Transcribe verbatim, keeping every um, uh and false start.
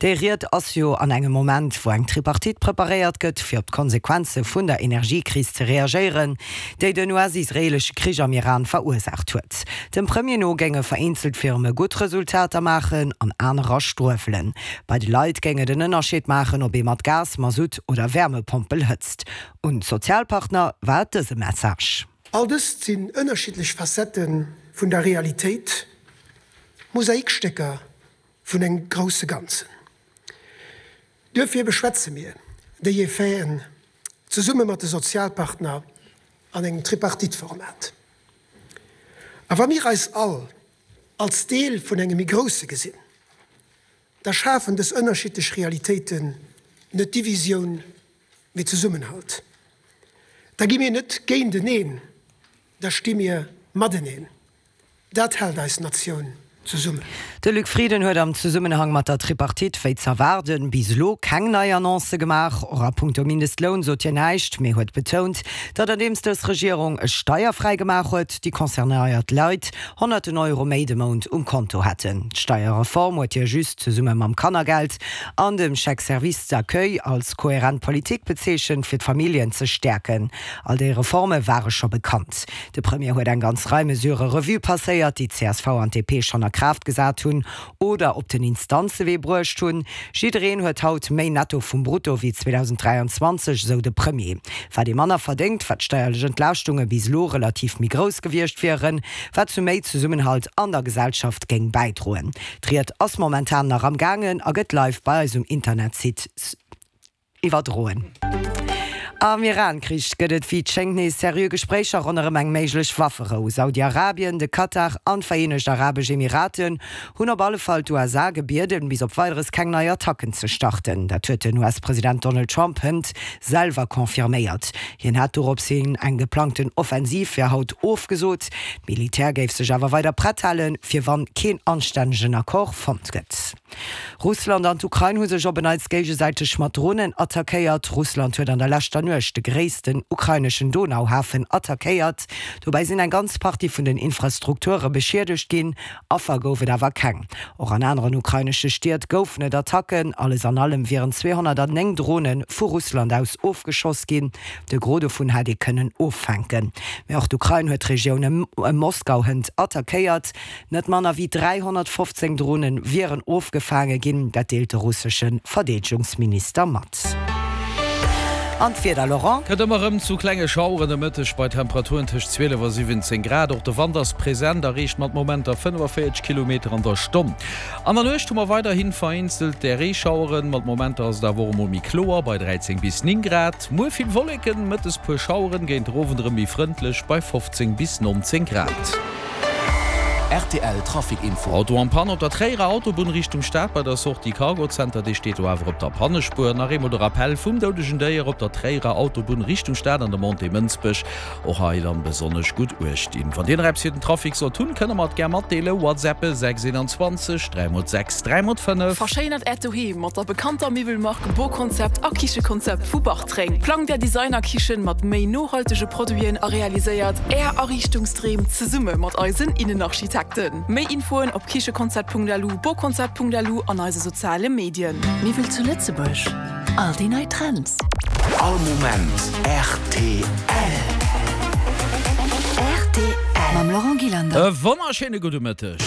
Déi Ried ass jo an engem Moment, wou eng Tripartite preparéiert gëtt, fir op d'Konsequenze vun der Energiekris ze reagéieren, déi den US-israeelesche Krich am Iran verursaacht huet. Dem Premier no géinge vereenzelt Firme gutt Resultater maachen an anerer struewelen. Bei de Leit géing et en Ënnerscheed maachen, ob ee mat Gas, Masutt oder Wärmepompel hëtzt. Un d'Sozialpartner war et dëse Message. All dëst sinn ënnerschiddlech Facettë vun der Realitéit, Mosaikstécker vun engem grousse Ganzen. Duerfir beschwätze mir déi Effeten zesumme mat de Sozialpartner an engem Tripartite-Format. A wa mir eis all als Deel vun engem méi grousse gesinn, da schafen dës ënnerschiddlech Realitéiten net Divisioun, mee Zesummenhalt. Da gi mir net géinteneen, da sti mir mateneen. Dat hält eis Natioun zesummen. De Luc Frieden huet am Zesummenhang mat der Tripartite, wéi z'erwaarden, bis elo keng nei Annoncë gemaach. Och a punkto Mindestloun sot hien näischt, mee huet betount, datt andeems dës Regierung e steierfräi gemaach huet, déi concernéiert Leit honnerten Euro méi de Mount um Konto hätten. D'Steierreform huet hie just zesumme mam Kannergeld an dem Chèque service d'accueil als kohärent Politik bezeechent, fir d'Familljen ze stäerken. All déi Reforme ware scho bekannt. De Premier huet eng ganz Rei Mesurë Revue passéiert, déi csv an d'DP schonn a Kraaft gesat hunn oder op den Instanzewee bruecht hunn. Jiddereen huet haut méi Netto vum Brutto wéi zweedausenddräianzwanzeg, esou de Premier. Wat ee manner verdéngt, wat d'steierlech Entlaaschtunge bis elo relativ méi grouss gewiescht wieren, wat zu méi Zesummenhalt an der Gesellschaft géing bäidroen. D'Ried ass momentan nach am gaangen a gëtt live bei eis um Internetsite iwwerdroen. Am Iran-Krich gëtt et wéi et schéngt nees seriö Gespréicher ronderëm eng méiglech Wafferou. Saudi-Arabien, de Katar an d'Vereenegt Arabesch Emiraten hunn op alle Fall d'USA gebieden, bis op Weideres keng nei Attacken ze starten. Dat huet den U S-President Donald Trump hënt selwer confirméiert. Hien hat dorops hin eng geplangten Offensiv fir haut ofgesot. D'Militär géif sech awer weider prett halen, fir wann keen anstännegen Accord fonnt gëtt. Russland an d'Ukrain hu sech op en Neits géigesäiteg mat Dronen attackéiert. Russland huet an der leschter Nuecht de gréissten ukraineschen Donauhafen attackéiert. Dobäi sinn eng ganz Partie vun den Infrastrukture beschiedegt ginn, Affer gouf et awer keng. Och an aneren ukrainesche Stied goufen et Attacken. Alles an allem wieren zweehonnertnéng Drone vu Russland aus ofgeschoss ginn. De Gros dovun hätt ee kënnen offänken. Mee och d'Ukrain huet d'Regioun ëm Moskau hënt attackéiert. Net manner wéi dräihonnertfofzéng Drone wieren ofgefaange ginn, dat deelt de russesche Verdeedegungsminister mat. An d'Wieder, Laurent? Kënnt ëmmer erëm zu klenge Schaueren de Mëtteg bei Temperaturen tëscht zwielef a siwwenzéng Grad. Och de Wand ass present a reecht mat Momenter fënnefavéierzeg Kilometer an der Stonn. An der Nuecht hu mer weiderhi vereenzelt där Reeschaueren, mat Momenter ass et awer och emol méi kloer bei dräizéng bis néng Grad. Muer vill Wolleken, mëttes puer Schaueren, géint den Owend erëm méi frëndlech bei fofzéng bis nonzéng Grad. Rtl Trafic Info. Auto en panne op der Tréierer Autobunn Richtung Stad bei der Sortie Cargo Center, dee steet do awer op der Pannespuer. Nach eemol de Rappell vum doudegen Déier op der Tréierer Autobunn Richtung Stad an der Montée Mënsbech. Och hei dann besonnesch gutt uecht dinn. Wann dir nach eppes fir den Trafic sollt hunn, kënnt der mer et gär matdeelen, WhatsAppe sechs eenanzwanzeg dräi mol sechs dräi mol fënnef. Verschéinert Äert Doheem mat der bekannter Miwwelmark Boconcept a Kichekonzept vu Bartreng. Plangt Är Designer-Kichen mat méi nohaltege Produiten a realiséiert Är Ariichtungsdreem zesumme mat eisen Innenarchitekten. Méi Infoen op kichekonzept Punkt L U, boconcept Punkt L U an eise soziale Medien. Miwwel zu Lëtzebuerg, all déi nei Trends. All Moment rtl. Rtl mam Laurent Gillander. E wonnerschéine gudde Mëtteg.